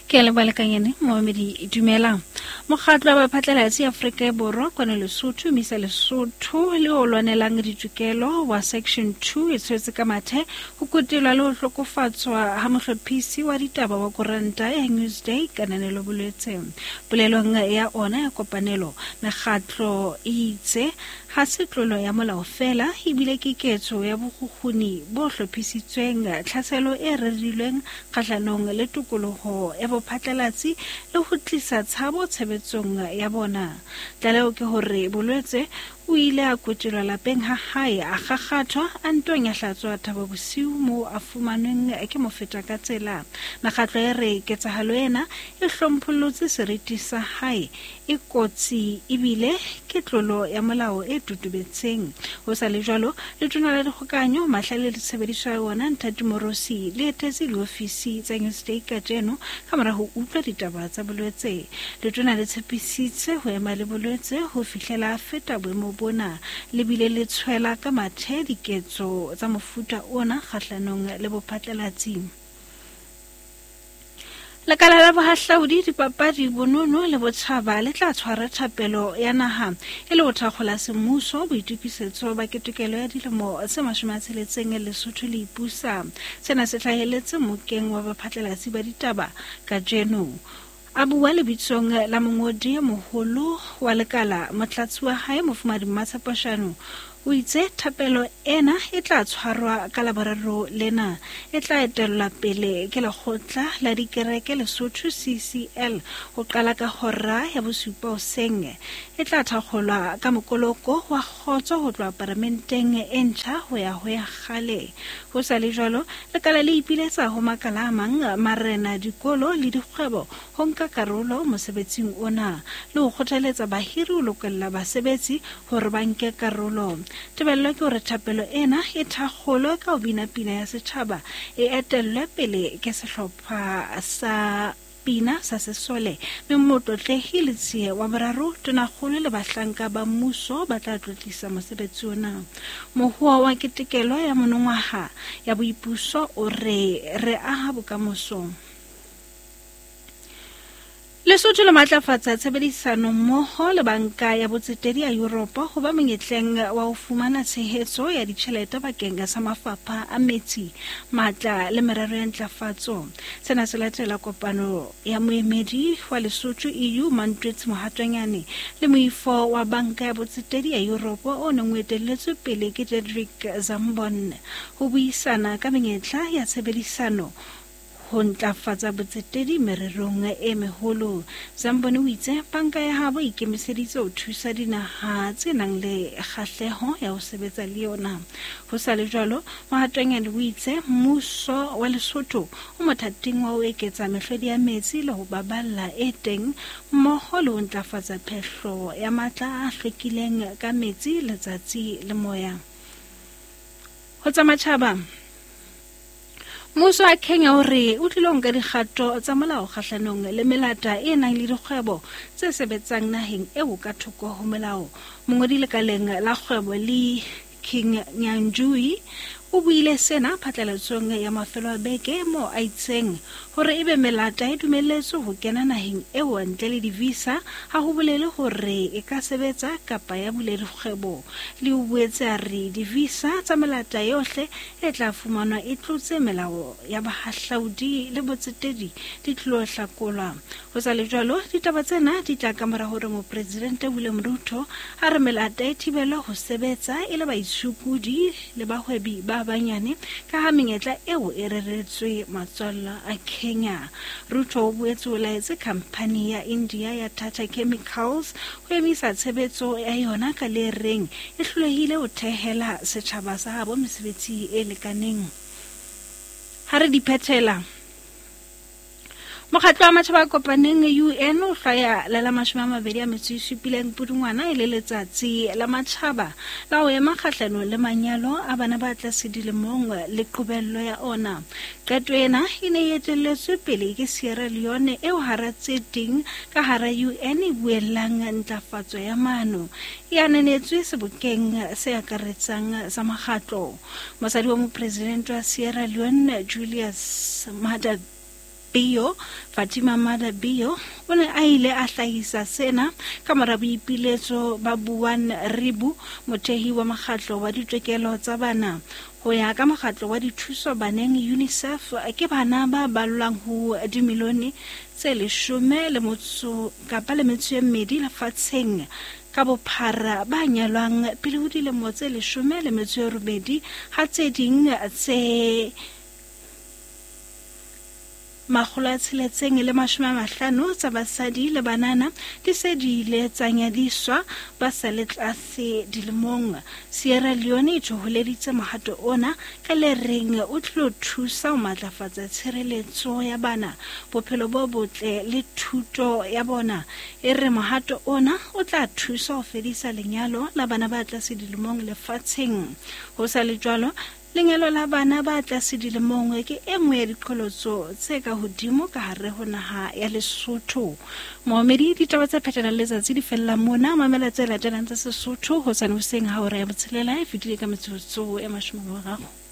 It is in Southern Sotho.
Ke a leboha lekanyane momamedi, dumela. Mokgatlo wa baphatlalatsi Afrika e Borwa kwano Lesotho, Misa Lesotho le o lwanelang ditokelo wa Section 2 e tshwetse ka mathe ho kutelwa le ho hlokofatswa ha mohlophisi wa ditaba wa koranta ya Newsday Kananelo Bolwetse. Polelong ya ona ya kopanelo, mekgatlo e itse ha se tlolo ya molao feela ebile ke ketso ya bokgukguni bo hlophisitsweng, tlhaselo e rerilweng kgahlanong le tokoloho ya bophatlalatsi le ho tlisa tshabo tshebetsong ya bona. Tlaleho ke hore Bolwetse o ile a kotelwa lapeng ha hae, a kgakgathwa, a nto nyahlatswa Thaba Bosiu moo a fumanweng ke mofeta ka tsela. Mekgatlo e re ketsahalo ena e hlomphollotse seriti sa hae, e kotsi ebile ke tlolo ya molao e totobetseng. Ho sa le jwalo, Letona la Dikgokahanyo, Mahlale le Tshebediso ya Ona, Nthati Morosi, le etetse diofisi tsa Newsday kajeno ka mora ho utlwa ditaba tsa bolwetse. Letona le tshepisitse ho ema le bolwetse ho fihlela a feta boemo bona, le bile le tshwela ka mathe diketso tsa mofuta ona kgahlanong le bophatlalatsi. Lekala la bohahlaudi, dipapadi, bonono le botjhaba le tla tshwara thapelo ya naha e le ho thakgola semmuso boitokisetso ba ketekelo ya dilemo tse 60 Lesotho le ipusa. Sena se hlahelletse mokeng wa baphatlalatsi ba ditaba kajeno. A bua lebitsong la mongodi e moholo wa lekala, motlatsi wa hae Mofumahadi Mmatshepo Shano o itse thapelo ena e tla tshwarwa ka Laboraro lena. E tla etellwa pele ke lekgotla la dikereke Lesotho CCL ho qala ka hora ya bosupa hoseng. E tla thakgolwa ka mokoloko wa kgotso ho tloha paramenteng e ntjha ho ya ho ya kgale. Ho sa le jwalo, lekala le ipiletsa ho makala a mang, marena, dikolo le dikgwebo ho nka karolo mosebetsing ona le ho kgothaletsa bahiri ho lokolla basebetsi hore ba nke karolo. Tebello ke hore thapelo ena e thakgolwe ka ho bina pina ya setjhaba, e etellwe pele ke sehlopha sa pina sa sesole, mme Motlotlehi Letsie wa Boraro, Tonakgolo le bahlanka ba mmuso ba tla tlotlisa mosebetsi ona. Mohoa wa ketekelo ya monongwaha ya boipuso o re, Re aha bokamoso. Lesotho le matlafatsa tshebedisano mmoho le Banka ya Botsetedi ya Yuropa ho ba monyetleng wa ho fumana tshehetso ya ditjhelete bakeng sa mafapha a metsi, matla le merero ya ntlafatso. Sena se latela kopano ya moemedi wa Lesotho EU Mantwetsi Mohatwanyane le moifo wa Banka ya Botsetedi ya Yuropa o neng o etelletswe pele ke Dedrick Zambon ho buisana ka menyetla ya tshebedisano ho ntlafatsa botsetedi mererong e meholo. Zamboni o itse banka ya habo e ikemiseditse ho thusa dinaha tse nang le kgahleho ya ho sebetsa le yona. Ho sa le jwalo, Mohatwanyane o itse mmuso wa Lesotho o mothating wa ho eketsa mehlodi ya metsi le ho baballa e teng mmoho le ho ntlafatsa phehlo ya matla a hlwekileng ka metsi, letsatsi le moya. Ho tsa matjhaba, Mmuso wa Kenya o re o tlilo nka dikgato tsa molao kgahlanong le melata e nang le dikgwebo tse sebetsang naheng eo ka thoko ho molao. Mongodi lekaleng la kgwebo le King Nyanjui o buile sena phatlalatsong ya mafelo a beke moo a itseng hore ebe melata e dumelletswe ho kena naheng eo ntle le di-visa ha ho bolele hore e ka sebetsa kapa ya bula dikgwebo. Le o boetse a re di-visa tsa melata yohle e tla fumanwa e tlotse melao ya bahahlaudi le botsetedi di tlilo hlakolwa. Ho sa le jwalo, ditaba tsena di tla ka mora hore Mopresidente William Ruto a re melata e thibelwe ho sebetsa e le baitshokodi le bahwebi ba banyane ka ha menyetla eo e reretswe matswalla a Kenya. Ruto o boetse o laetse khamphani ya India ya Tata Chemicals ho emisa tshebetso ya yona ka le reng e hlolehile ho thehela setjhaba sa habo mesebetsi e lekaneng. Ha re di phethela, Mokgatlo wa Matjhaba a Kopaneng UN o hlwaya le la 27 Pudungwana e le letsatsi la matjhaba la ho ema kgahlanong le manyalo a bana ba tlase dilemong le qobello ya ona. Qeto ena e ne e etelletswe pele ke Sierra Leone eo hara tse ding ka hara UN e buellang ntlafatso ya maano e ananetswe sebokeng se akaretsang sa mokgatlo. Mosadi wa mopresidente wa Sierra Leone Julius Maada Bio, Fatima Mada Bio, o ne a ile a hlahisa sena ka mora boipiletso ba Buan Ribu, mothehi wa mokgatlo wa ditokelo tsa bana. Ho ya ka mokgatlo wa dithuso baneng UNICEF, ke bana ba ballwang ho dimilione tse leshome le motso kapa le metso e mmedi lefatsheng ka bophara ba nyalwang pele ho dilemo tse leshome le metso e robedi, ha tse ding tse 650 tsa basadi le banana di se di ile tsa nyadiswa ba sa le tlase dilemong. Sierra Leone e thoholeditse mohato ona ka le reng o tlilo thusa ho matlafatsa tshireletso ya bana, bophelo bo botle le thuto ya bona. E re mohato ona o tla thusa ho fedisa lenyalo la bana ba tlase dilemong lefatsheng. Ho sa le jwalo, Lenyalo la bana ba tlase dilemong ke e nngwe ya diqholotso tse ka hodimo ka hare ho naha ya Lesotho. Moomedi, ditaba tse phethelang letsatsi di fella mona. Mamela tse latelang tsa Sesotho hosane hoseng ha hora ya botshelela e fetile ka metsotso e 30.